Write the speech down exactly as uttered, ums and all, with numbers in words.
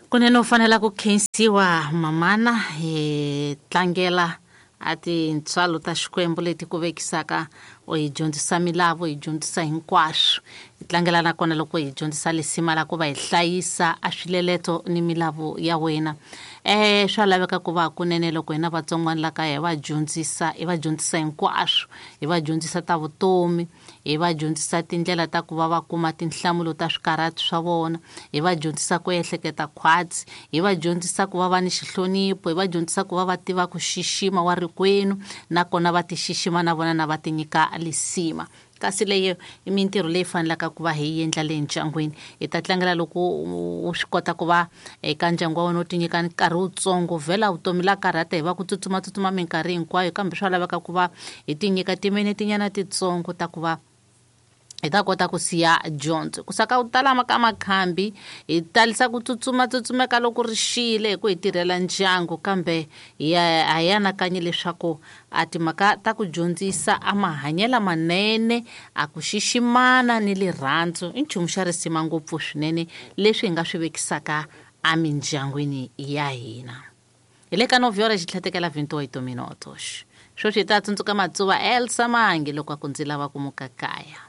Kunene u fanela ku khensiwa mamana hi tlangela a tintswalo ta Xikwembu leti ku vekisaka u hi dyondzisa milawu hi dyondzisa hinkwaswo hi tlangela nakona loko hi dyondzisa lisima la ku va hi hlayisa a swileleto ni milawu ya wena. Eh swa laveka ku va kunene loko hina vatsongwana la kaya hi va dyondzisa hi va dyondzisa hinkwaswo hi va dyondzisa ta vutomi hi va dyondzisa tindlela ta ku va va kuma tinhlamulo ta swikarhati swa vona hi va dyondzisa ku ehleketa khwatsi hi va dyondzisa ku va va ni xihlonipho hi va dyondzisa ku va va tiva ku xixima wa rikwenu nakona va ti xixima na vona na va ti nyika lisima. Kasi leyi i mintirho leyi fanelaka ku va hi endla le ndyangwini. Hi ta tlangela loko u swi kota ku va eka ndyangu wa wena u ti nyika nkarhi wutsongo vhela vutomi la karhata hi va ku tsutsumatsutsuma minkarhi hinkwayo kambe swa laveka ku va hi ti nyika timinetinyana titsongo ta ku va hi ta kota ku siya dyondzo ku saka ku tala ka makhambi hi talisa ku tsutsuma tsutsumeka loko ri xile hi ku hi tirhela ndyangu kambe hi a hi anakanyi leswaku a timhaka ta ku dyondzisa a mahanyelo manene a ku xiximana ni rirhandzu i nchumu xa risima ngopfu swinene leswi hi nga swi vekisaka emindyangwini ya hina. Hi le ka novhora xitlhatekela twenty-eight minutos sweswi hi ta tsundzuka Matsuva Elsa Mangi loko a ku ndzi lava ku muka kaya.